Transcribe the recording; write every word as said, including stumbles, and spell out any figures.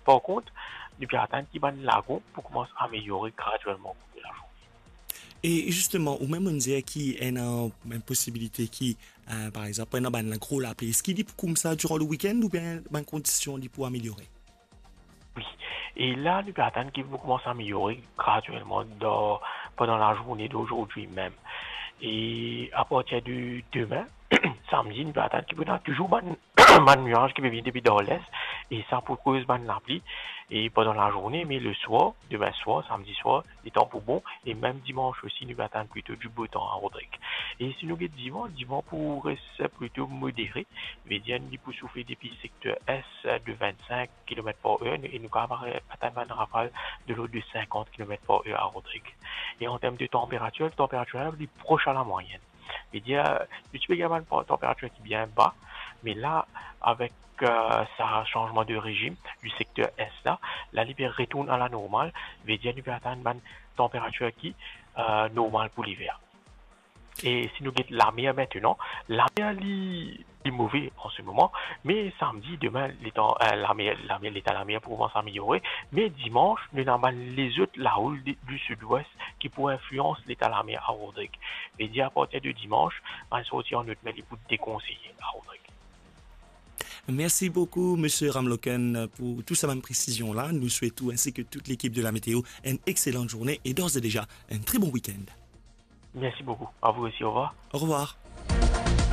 Par kont, nou pe atann ki bann lagon pou koumans ameliore gradyelman okour de lazourne. E zisteman, ou mem dir ki ena enn posibilite ki, euh, par exanp, ena bann gro lapli, eski li pou koumsa diran le weekend oubien bann kondision li pou ameliore? Wi. E la, nou pe atann ki pou koumans ameliore gradyelman dan, pandan lazourne d'ozordi mem. E apartir de demin, samdi, nou pe atann ki pou ena touzour bann, bann niaz ki pe vini depi dan les, e sa pou koz bann lapli, e pandan lazourne, me leswar, demin swar, samdi swar, letan pou bon, e mem dimans osi, nou pe atann plito di bo tan a Rodrig. E si nou get diman, diman pou res plito modere, vedir li pou soufle depi sekter es de vennsenk kilomet par er, e nou kapav atann bann rafal de lord de sinkant kilomet par er a Rodrig. E an term de tanperatir, tanperatir la li pros a lamwayenn. Vedir, nou ti pe gagn bann tanperatir ki bien ba, me la, avek, euh, sa sanzman de rezim di sekter es la, la li pe retourn a lanormal, vedir nou pe atann bann tanperatir ki, euh, normal pou liver. E si nou get lamer aster, lamer li, li move an se moman, me samdi, demin, letan, euh, lamer, lamer, leta lamer pou koumans ameliore, me dimans, nou ena bann lezot laroul di, di sidwes ki pou inflians leta lamer a Rodrig. Vedir apartir de dimans, bann sorti an lot mer li pou dekonseye a Rodrig. Merci beaucoup, Monsieur Ramloken, pour tout sa bann presizion la. Nous souhaitons, ainsi que toute l'équipe de la météo, une excellente journée et d'ores et déjà un très bon week-end. Merci beaucoup. À vous aussi. Au revoir. Au revoir.